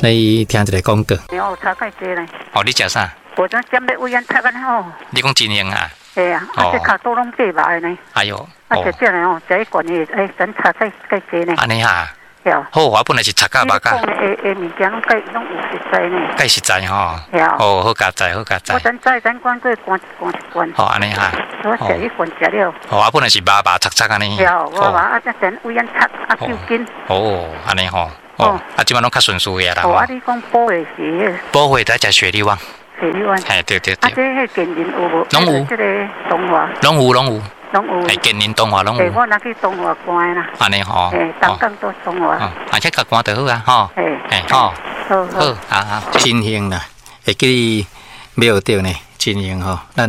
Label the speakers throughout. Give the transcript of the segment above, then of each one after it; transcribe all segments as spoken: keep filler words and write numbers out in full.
Speaker 1: 你聽一个廣告。
Speaker 2: 哦，差蓋濟呢。
Speaker 1: 哦，你食啥？
Speaker 2: 我陣針欲胃炎插安吼。
Speaker 1: 你講真興啊？
Speaker 2: 會啊，啊這跤肚攏爬肉的呢。
Speaker 1: 哎喲，
Speaker 2: 啊食這呢吼，食一罐的，欸，咱差蓋蓋濟呢。
Speaker 1: 按呢哈。
Speaker 2: 對。
Speaker 1: 好，我本來是插甲肉甲。
Speaker 2: 你講的的物件攏蓋攏有實在呢。
Speaker 1: 蓋實在吼。
Speaker 2: 對。
Speaker 1: 哦，好佳哉，好佳哉。
Speaker 2: 我等早咱管過灌灌一罐。
Speaker 1: 好，按呢哈。
Speaker 2: 我食一罐食了。
Speaker 1: 哦，啊本來是肉肉插插按呢。
Speaker 2: 對，我肉啊，這陣胃炎插啊，救緊。
Speaker 1: 哦，按呢吼。哦，啊，這擺攏較順序的啦。
Speaker 2: 哦，啊，你講補的是？
Speaker 1: 補血得食雪梨丸。
Speaker 2: 雪梨丸。
Speaker 1: 嘿，對對對。
Speaker 2: 啊，這彼建仁有無？
Speaker 1: 攏有。
Speaker 2: 這个東華。
Speaker 1: 攏有攏有。
Speaker 2: 攏有。
Speaker 1: 欸，建仁東華攏有。
Speaker 2: 我若去東華看的啦。
Speaker 1: 按呢吼。
Speaker 2: 欸，東港都東華。
Speaker 1: 啊，去共看就好啊，吼。
Speaker 2: 欸，
Speaker 1: 吼。
Speaker 2: 好。
Speaker 1: 好，好好。真興啦，會記你買著呢，真興吼，咱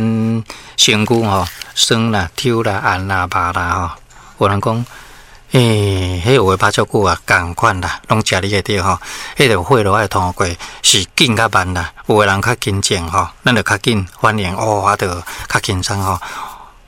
Speaker 1: 身軀吼酸啦、抽啦、按啦、肉啦吼，有人講。欸，彼有的拍足久啊，仝款啦，攏食你的對吼。彼个血路愛通過是緊較慢啦，有的人較緊張吼，咱就較緊反應哦，啊，就較輕鬆吼。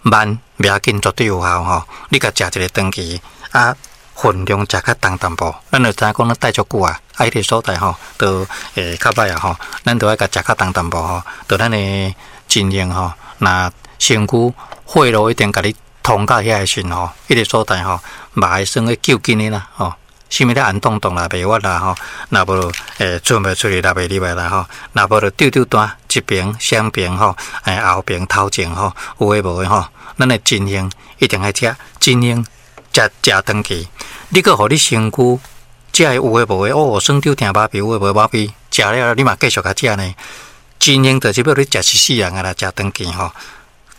Speaker 1: 慢袂要緊，絕對有效吼。你共食一个長期啊，分量食較重淡薄，咱就知影講咱戴足久啊，啊，彼个所在吼，就會較歹啊吼。咱就愛共食較重淡薄吼，就咱的真形吼，若身軀血路一定共你通到遐个時吼，彼个所在吼，嘛會算咧救緊的啦吼。啥物咧按動動啦，袂活啦吼，若無會出袂出去，啦袂入來啦吼，若無就丟丟單一爿、雙爿吼，欸後爿、頭前吼，有的無的吼，咱的真形一定愛食，真形食食長期，你閣予你身軀食的有的無的，哦，酸丟疼麻痹，有的無的麻痹，食了你嘛繼續共食呢。真形就是欲你食一世人啊啦，食長期吼。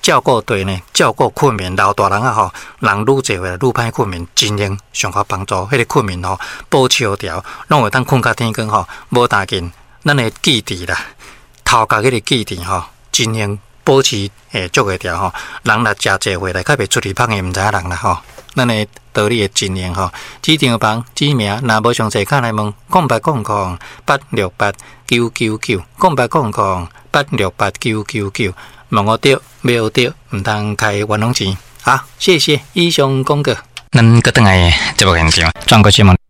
Speaker 1: 照顧對呢，照顧睏眠，老大人啊吼，人愈濟歲愈歹睏眠，真正上較幫助。彼个睏眠吼，保持調，攏會當睏較天光吼，無大緊。咱的記憶啦，頭殼彼个記憶吼，真正保持會足會調吼。人若誠濟歲來，較袂出去芳的，毋知影人啦吼。咱的道理的真形吼，指定房指名，若無詳細，敲來問空八空空八六八九九九，空八空空八六八九九九。問我著，沒著，毋通開冤枉錢。好，謝謝以上廣告。咱閣轉來節目現場，轉過新聞。